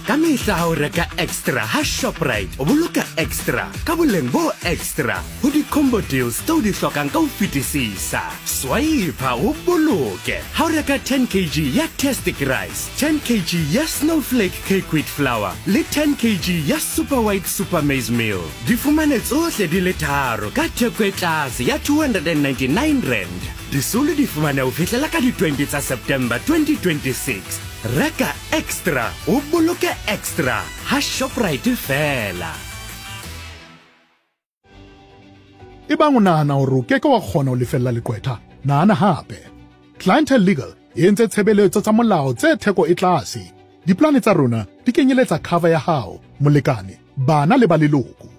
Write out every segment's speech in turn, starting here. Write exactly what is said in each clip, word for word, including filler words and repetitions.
Ka mehla ha o reka extra ha Shoprite, o boloka extra ka boleng bo extra ho di-combo deals tseo di hlokang ka ho fetisisa. Swipe o boloke ha o reka ten kg ya Tastic Rice, ten kg ya Snowflake Cake Wheat Flour le ten kg ya Super White Super Maize Meal. Di fumane tsohle di le tharo ka theko e tlase ya two hundred and ninety-nine rand. Disolo di fumane ho fihlela ka di twenty tsa September twenty twenty-six. Reka extra, o boloke extra ha Shoprite fela. Ebang o nahana hore o keke wa kgona ho lefella leqwetha, nahana hape. Clientele Legal e entse tshebeletso tsa molao tse theko e tlase. Diplane tsa rona di kenyeletsa cover ya hao, molekane, bana le ba leloko.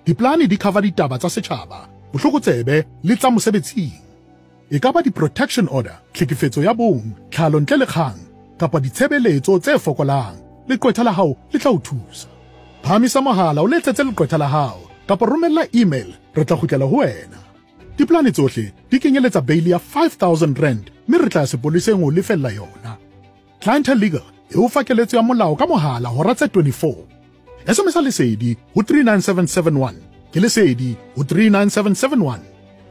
Diplane di cover ditaba tsa setjhaba, bohlokotsebe le tsa mosebetsing. E ka ba di-protection order, tlhekefetso ya bong, tlhalo ntle le kgang, kapa ditshebeletso tse fokolang. Leqwetha la hao le tla o thusa. Phahamisa mohala o letsetse leqwetha la hao kapa romella email, re tla kgutlela ho wena. Diplane tsohle di kenyeletsa bail ya five thousand rand mme re tla ya sepoleseng ho lefella yona. Clientele Legal e o fa keletso ya molao ka mohala hora tse twenty-four. S M S Lesedi ho three nine seven seven one. Ke Lesedi ho three nine seven seven one.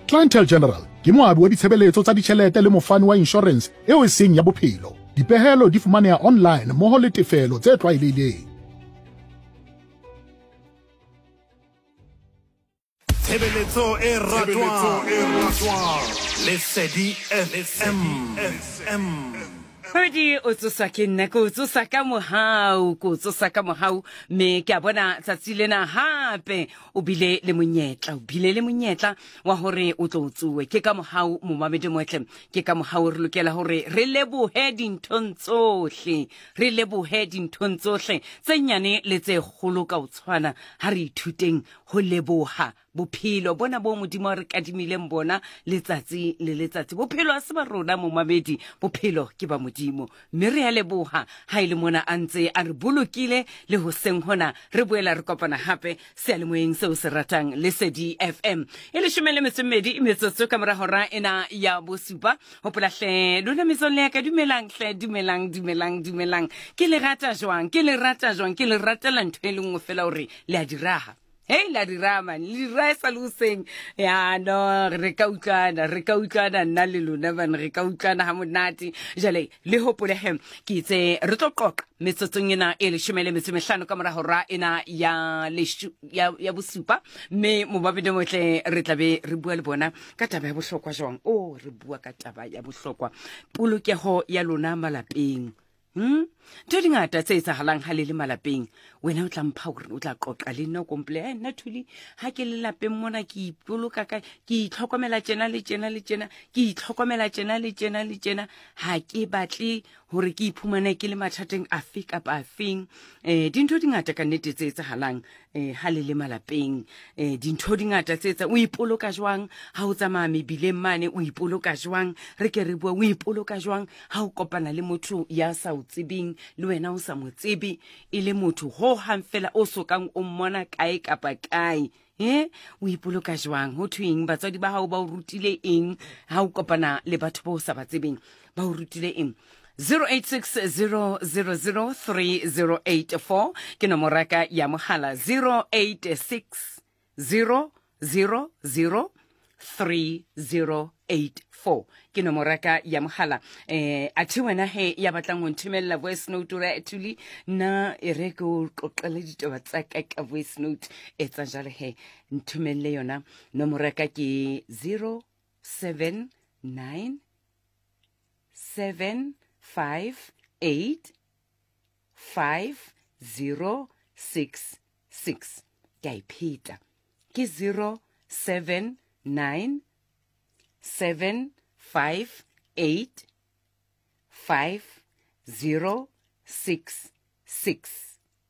Clientele General ke moabi wa ditshebeletso tsa ditjhelete le mofani wa insurance eo e seng ya bophelo. Dipehelo di fumaneha online mmoho le tefelo tse tlwaelehileng. Tshebeletso e ratwang, Lesedi F M. Pedi o tsosa ke nna, ke o tsosa ka mohau, ke o tsosa ka mohau, mme ke a bona tsatsi lena hape o bile le monyetla, o bile le monyetla wa hore o tlo tsoe. Ke ka mohau momamedi motle, ke ka mohau re lokela hore re lebohe dinthong tsohle, re lebohe dinthong tsohle tse nyane le tse kgolo ka ho tshwana. Ha re ithuteng ho leboha bophelo bona bo Modimo re kadimileng bona letsatsi le letsatsi. Bophelo ha se ba rona momamedi, bophelo ke ba Modimo, mme re a leboha ha ile mona a ntse a re bolokile le hoseng hona. Re boela re kopana hape seyalemoyeng seo se ratang Lesedi F M e leshome le metso e mmedi metsotso ka mora hora ena ya bosupa. Hopola hle lona metswalle ya ka, dumelang hle, dumelang, dumelang, dumelang. Ke le rata jwang, ke le rata jwang, ke le ratela ntho e le nngwe fela hore le a di raha. Hey, la dirama, le dira sa le hoseng. Ya no, re ka utlwana, re ka utlwana nna le lona bana, re ka utlwana ha monate. Jwale le hopole he, ke itse re tlo qoqa metsotsong ena e leshome le metso e mehlano ka mora hora ena ya leshu, ya, ya bosupa. Mme mobabedi motle re tla be re bua le bona ka taba ya bohlokwa jwang. Oh, re bua ka taba ya bohlokwa, polokeho ya lona malapeng. Hmm? Ntho di ngata tse etsahalang ha le le malapeng. Wena o tla mpha hore o tla qoqa le nna o komple, eh nna Thuli ha ke le lapeng mona ke ipoloka ka, ke itlhokomela tjena le tjena le tjena, ke itlhokomela tjena le tjena le tjena, ha ke batle hore ke iphumane ke le mathateng afe kapa afeng. Eh dintho di ngata ka nnete tse etsahalang eh ha le le malapeng. Eh dintho di ngata tse etsa, o ipoloka jwang ha o tsamaya mebileng mane, o ipoloka jwang, re ke re bua, o ipoloka jwang ha o kopana le motho ya sa o tsebeng le wena o sa mo tsebe, e le motho ho hang fela o sokang o mmona kae kapa kae. Eh o ipoloka jwang? Ho thweng batswadi ba hao ba o rutile eng ha o kopana le batho ba o sa ba tsebeng, ba o rutile eng? zero eight six zero zero zero three zero eight four ke nomoro ya ka ya mohala, zero eight six zero zero zero three zero eight four ke nomoro ya ka ya mohala. Eh athe wena he ya batlang ho nthomella voice note re Thuli nna e re ke o qoqele ditaba tsa ka ka voice note, etsa jwale he nthomelle yona. Nomoro ya ka ke zero seven nine seven five eight five zero six six. Ke a ipheta, ke zero seven nine seven five eight five zero six six.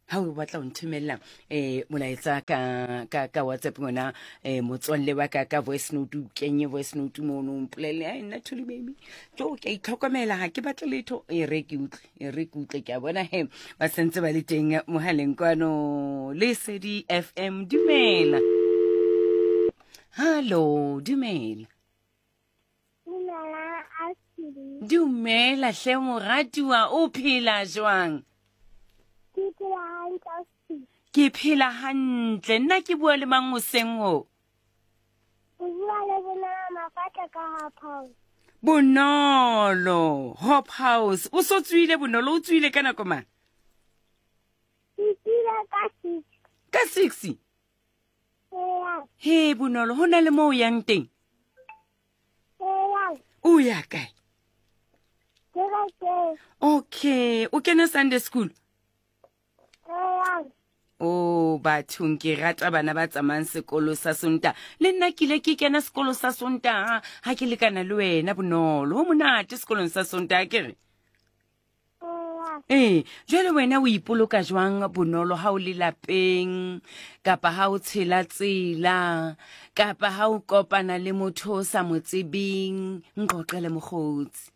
Ha o batla ho nthomella eh molaetsa ka ka ka WhatsApp ngwana eh motswalle wa ka ka voice note, o kenye voice note mono o mpolelle, ai nna Thuli baby tjo ke a itlhokomela ha ke batle letho, e re ke utlwe, e re ke utlwe. Ke a bona he ba sentse ba le teng mohaleng kwano Lesedi F M. Dumela. Hallo, dumela. Dumela, Ashley. Dumela hle moratuwa, o phela jwang? Ke phela phela hantle ausi. Ke phela hantle. Nna ke bua le mang hoseng ho? O bua le Bonolo Mafatla ka Hop House. Bonolo, Hop House. O so tswile Bonolo, o tswile ka nako mang? Ke tswile ka six. Ka six? Eya. He Bonolo, ho na le moo o yang teng? Eya. O ya kae? Kerekeng. Okay, o kena Sunday school? Eya. Oh, bathong ke rata bana ba tsamayang sekolo sa Sontaha. Le nna ke ile ke kena sekolo sa Sontaha ha ke lekana le wena Bonolo. Ho monate sekolong sa Sontaha ke re. Eya. Eh, jwale wena o ipoloka jwang Bonolo ha o le lapeng kapa ha o tshela tsela kapa ha o kopana le motho o sa mo tsebeng? Nqoqele mokgotsi.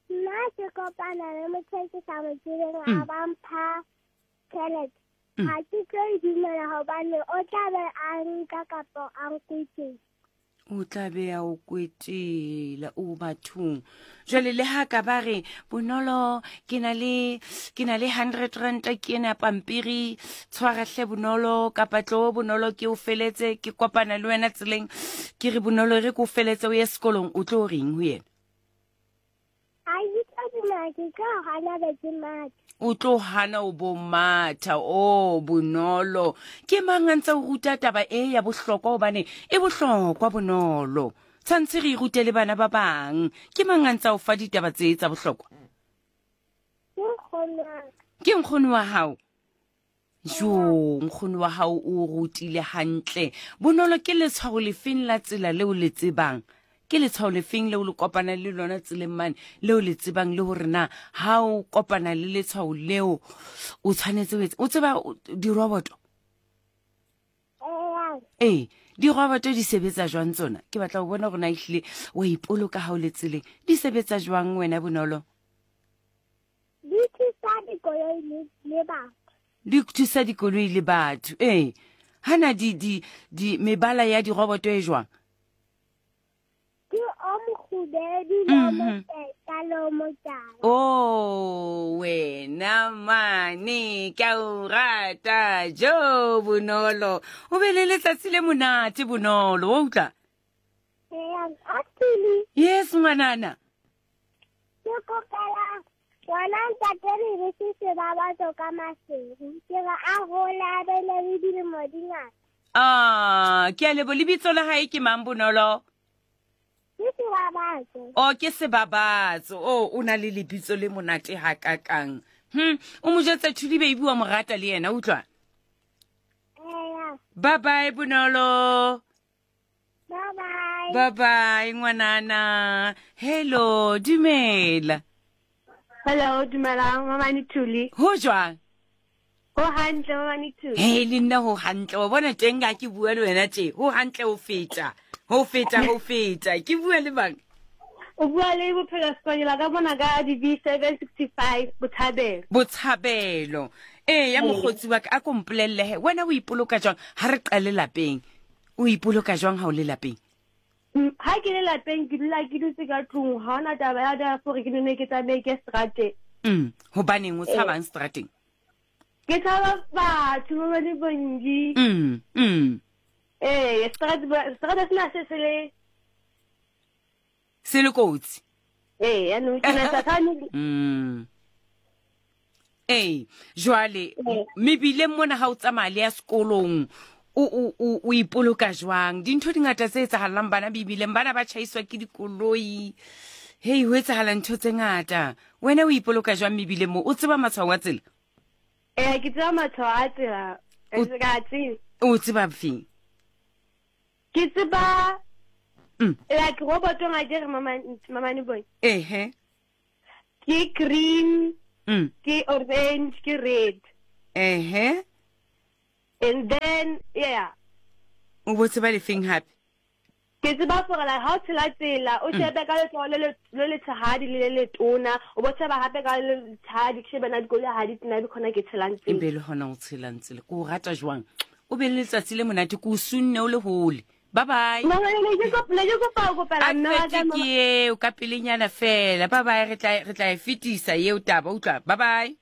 Nna ke kopana le motho e ke sa mo tsebeng a ba mpha tjhelete. Ha ke tlo e dumela hobane o tla be a nka kapa a nkwetela. O tla be a o kwetela o bathong. Jwale le ha ka ba re Bonolo ke na le ke na le hundred rand ke ena pampiri tshwara hle Bonolo kapa tlo Bonolo ke o feletse ke kopana le wena tseleng ke re Bonolo re ke o feletse o ye sekolong o tlo reng ho yena? Ha ke tlo dumela, ke tlo hana be ke matha. O tlo hana o bo matha. O Bonolo, ke mang a ntse o ruta taba e ya bohlokwa hobane e bohlokwa Bonolo. Tshwantse re e rute le bana ba bang. Ke mang a ntse o fa ditaba tse tsa bohlokwa? Ke nkgono wa ka. Ke nkgono wa hao? Jo, nkgono wa hao o rutile hantle. Bonolo, ke letshwao lefeng la tsela leo le tsebang? Ke letshwao lefeng leo le kopana le lona tseleng mane leo le tsebang le hore na ha o kopana le letshwao leo o tshwanetse o etse? O tseba diroboto? Eya. Ee, diroboto di sebetsa jwang tsona? Ke batla ho bona hore na ehlile wa ipoloka ha o le tseleng. Di sebetsa jwang wena Bonolo? Di thusa dikoloi le, le batho. Di thusa dikoloi le batho. Ee. Hana di di di mebala ya diroboto e jwang? Ke o mokgubedu le o moteta le o motala. Oh, wena mane ke a o rata jo Bonolo. O be le letsatsi le monate Bonolo, wa utlwa? Eya, actually. Yes, ngwanana. Ke kopela ngwana ntate Lebese Sebabatso ka Maseru. Ke re a hole a be le dilemo di ngata. Ah, ke a lebo. Lebitso la hae ke mang Bonolo? Ke Sebabatso. Oh, ke Sebabatso. Oh, o na le lebitso le monate hakakang. Hm, o mo jwetsa Thuli baby wa mo rata le yena, utlwa? Eya. Bye bye Bonolo. Bye bye. Bye bye ngwanana. Hello, dumela. Hello, dumela Mamane Thuli. Ho jwang? Ho hantle Mamane Thuli. Hey, le nna ho hantle. Wa bona teng ha ke bua le wena tje. Ho hantle ho feta. Ho feta, ho feta. Ke bua le mang? O bua le Bophelo Sekonyela ka mona ka D V seven sixty-five Botshabelo. Botshabelo. Eh, ya mokgotsi wa ka a ko mpolelle he. Wena o ipoloka jwang ha re qale lapeng? O ipoloka jwang ha o le lapeng? Ha ke le lapeng ke dula ke dutse ka tlung, ha hona taba ya da gore ke nne ke tsamaye ke strateng. Mm, hobaneng o tshabang strateng? Ke tshaba batho ba le bongi. Mm, mm. Eh, strat strat sena se se le se le kotsi. Eh, ya no ke na sathane. Mm. Eh, jwale mebileng mona ha o tsamaya le ya sekolong o o o ipoloka jwang? Dintho di ngata tse etsahalang bana bibileng, bana ba tjhaiswa ke dikoloi. Hei, ho etsahala ntho tse ngata. Wena o ipoloka jwang mebileng mo? O tseba matshwao a tsela? Eh, ke tseba matshwao a tsela. Ke a tseba. O tseba feng? Ke tseba Mm. like robotong a ke re mama mama ne boy. Ehe. Ke green, Mm. ke orange, ke red. Ehe. And then yeah. O bo tseba lefeng hape? Ke tseba gore like ha o tshela tsela o shebe ka letsoho le le letshehadi le le letona, o bo sheba hape ka le letshehadi, ke shebe na dikoloi ha di tsena, be khona ke tshelang tsela. Ebe le hona o tshelang tsela. Ke o rata jwang? O be le letsatsi le monate, ke o sunne o le hole. Bye bye. Mama ne ke kopa ne ke kopa ho kopela mme wa ka Advert ke eo ka pelenyana fela. Bye bye, re tla re tla e fetisa eo taba, utlwa. Bye bye.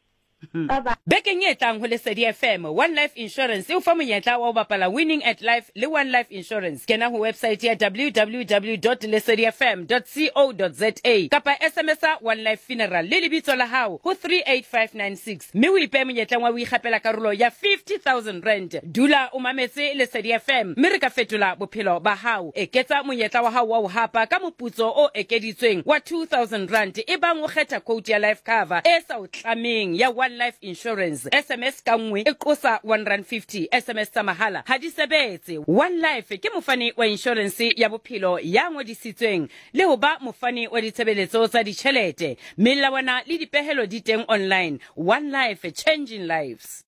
Bye bye. Bekeng e tlang ho Lesedi F M, One Life Insurance e o fa monyetla wa ho bapala Winning at Life le One Life Insurance. Kena ho website ya w w w dot lesedi f m dot co dot za kapa S M S One Life Funeral le lebitso la hao ho three eight five nine six mme o ipehe monyetleng wa ho ikgapela karolo ya fifty thousand rand. Dula o mametse Lesedi F M mme re ka fetola bophelo ba hao. Eketsa monyetla wa hao wa ho hapa ka moputso o ekeditsweng wa two thousand rand ebang o kgetha quote ya life cover e sa o tlameng ya One Life Insurance. S M S ka nngwe e qosa one rand fifty. S M S tsa mahala ha di sebetse. One Life ke mofani wa insurance ya bophelo ya ngodisitsweng le ho ba mofani wa ditshebeletso tsa ditjhelete. Melawana le dipehelo di teng online. One Life, changing lives.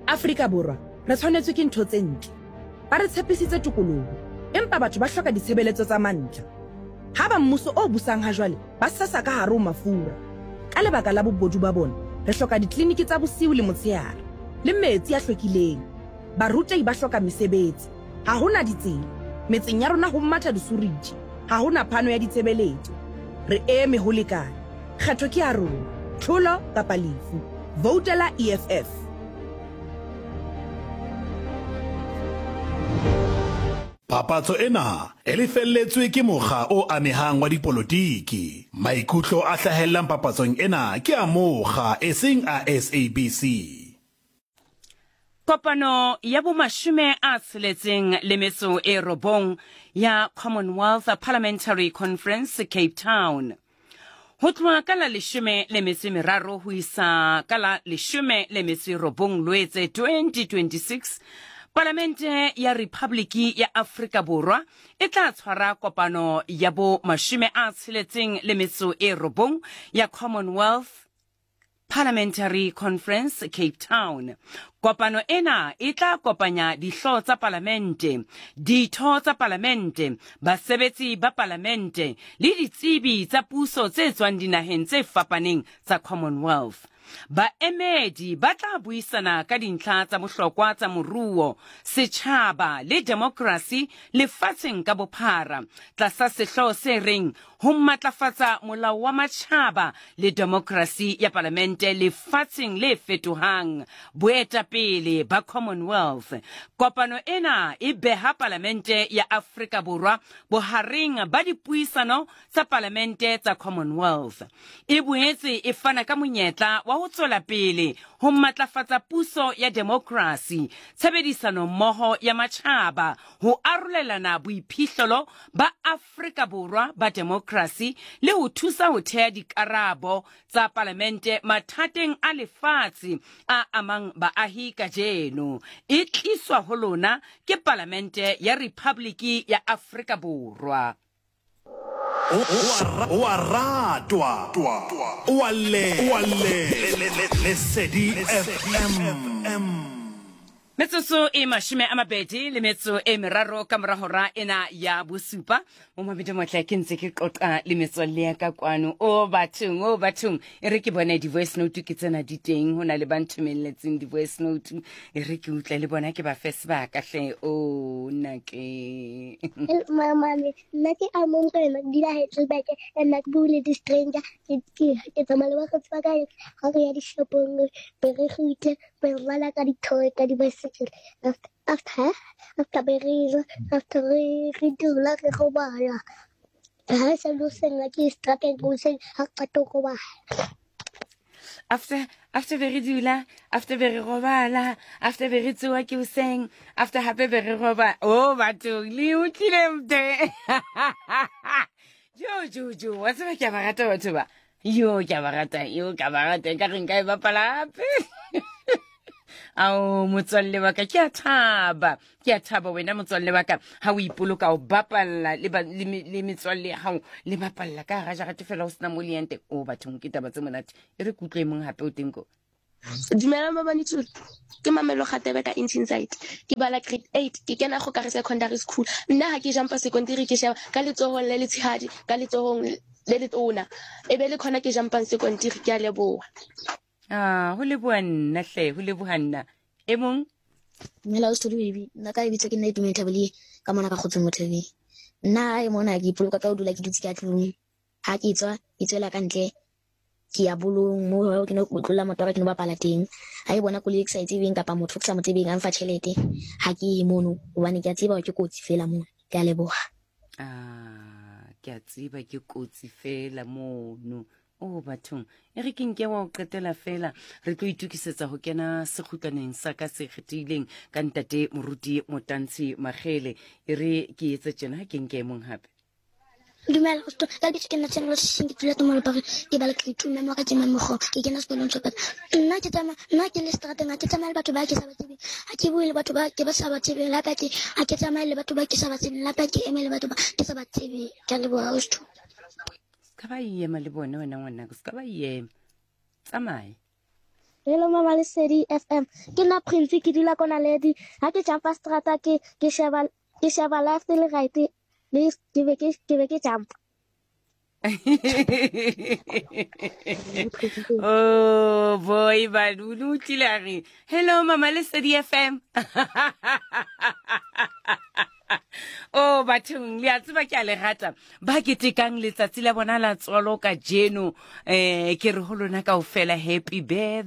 Afrika Borwa re tshwanetswe ke ntho tse ntle. Ba re tshepisitse tokoloho, empa batho ba hloka ditshebeletso tsa mantlha. Ha ba mmuso o busang ha jwale ba sesa ka hare ho mafura. Ka lebaka la bobodu ba bona, re hloka ditleliniki tsa bosiu le motshehare le metsi a hlwekileng. Barutehi ba hloka mesebetsi. Ha hona ditsela. Metseng ya rona ho matha disuriji. Ha hona phano ya ditshebeletso. Re eme ho lekana. Kgetho ke ya rona. Tlholo kapa lefu. Voutela E F F. Papatso ena e lefelletswe ke mokga o amehang wa dipolotiki. Maikutlo a hlahellang papatsong ena ke a mokga eseng a S A B C. Kopano ya bomashome a tsheletseng le metso e robong ya Commonwealth Parliamentary Conference Cape Town. Ho tloha ka la leshome le metso e meraro ho isa ka la leshome le metso e robong Loetse twenty twenty-six, Palamente ya Republiki ya Afrika Borwa e tla tshwara kopano ya bo mashome a tsheletseng le metso e robong ya Commonwealth Parliamentary Conference Cape Town. Kopano ena e tla kopanya dihlooho tsa palamente, ditho tsa palamente, basebetsi ba palamente le ditsebi tsa puso tse tswang dinaheng tse fapaneng tsa Commonwealth. Baemedi ba tla buisana ka dintlha tsa bohlokwa tsa moruo, setjhaba le demokrasi lefatsheng ka bophara tlasa sehlooho se reng ho matlafatsa molao wa matjhaba le demokrasi ya palamente lefatsheng le fetohang, boetapele ba Commonwealth. Kopano ena e beha palamente ya Afrika Borwa bohareng ba dipuisano tsa palamente tsa Commonwealth. E boetse e fana ka monyetla wa ho tswela pele ho matlafatsa puso ya demokrasi, tshebedisano mmoho ya matjhaba, ho arolelana boiphihlelo ba Afrika Borwa ba demokrasi le ho thusa ho theha dikarabo tsa palamente mathateng a lefatshe a amang baahi kajeno. E tliswa ho lona ke Palamente ya Republiki ya Afrika Borwa. O a ratwa, o a le, o a le, Lesedi F M. Metsotso e mashome a mabedi le metso e meraro ka mora hora ena ya bosupa. Momamedi motle ke ntse ke qoqa le metswalle ya ka kwano. O bathong, o bathong, e re ke bone di-voice note ke tsena di teng, ho na le ba nthomelletseng di-voice note, e re ke utlwe le bona ke ba fe sebaka hle. O nna ke Mama, nna ke a mong ka yena, ke dula Heidelberg, nna ke bue le di-stranger, ke ke tsamaya le bakgotsi ba ka, ha re ya dishopong, be re kgutle, be re bala ka di-toy, ka di-bicycle. After after after be re ja, after re re dula re robala. Ha se lo seng ke strateng go seng ha qeta go robala. After after be re dula, after be re robala, after be re tsoha ke hoseng, after hape be re robala. Oh batho le utlwile mte. Jo jo jo, wa tseba ke a ba rata batho ba. Yo ke a ba rata, yo ke a ba rata, ka re nka e bapala hape. Ao motswalle wa ka, ke a thaba, ke a thaba wena motswalle wa ka, ha o ipoloka o bapalla le ba le metswalle ya hao, le bapalla ka hara jarete fela ho sena mo le yang teng. O bathong ke taba tse monate. E re kutlwe mong hape o teng ko. Dumela mabane tsolo. Ke Mamelo Kgatebe ka Insight. Ke bala grade eight, ke kena go kare secondary school. Nna ha ke jumpa secondary ke sheba ka letsohong le letshehadi, ka letsohong le letona. E be le khona ke jumpang secondary, ke a leboha. Ah, ho leboha nna hle, ho leboha nna. E mong? Dumela o studio baby. Nna ka lebitso ke nna Itumelo Thabile ka mona ka Kgotsong Mothebe. Nna e mona ke ipoloka ka ho dula ke dutse ka tlung. Ha ke tswa, ke tswela ka ntle. Ke ya bolong moo ke no tlola motora ke no bapala teng. Ha e bona koloi e ke sa e tsebeng kapa motho ke sa mo tsebeng a mfa tjhelete, ha ke ye mono hobane ke a tseba hore ke kotsi fela mono. Ke a leboha. Ah, ke a tseba ke kotsi fela mono. O bathong, e re ke nke wa o qetela fela re tlo itokisetsa ho kena sekgutlaneng sa ka se kgethehileng ka ntate moruti Motantshi Magele. E re ke etse tjena, ha ke nke e mong hape. Dumela, Ausi. Ka lebitso ke nna Tshenolo Sesing, ke dula Tumelo Park, ke bala grade two, mme wa ka ke Mamogo, ke kena sekolong sa Nna ke tsamaya, nna ke le seterateng, ha ke tsamaye le batho ba ke sa ba tsebeng. Ha ke bue le batho ba ke ba sa ba tsebeng, le hape ha ke ha ke tsamaye le batho ba ke sa ba tsebeng, le hape ha ke eme le batho ba ke sa ba tsebeng. Ke a leboha, Ausi. Se ka ba ema le bona wena ngwanaka, se ka ba ema, tsamaye. Hello Mama Lesedi F M. Ke nna Prince, ke dula ko Naledi. Ha ke jumpa strata ke ke sheba ke sheba left le right le ke be ke ke be ke jump. Oh boy, Balulu o tlile a re hello Mama Lesedi F M. Oh bathong, le a tseba ke a le rata ba ketekang letsatsi la bona la tswalo kajeno. Eh ke re ho lona kaofela happy birthday.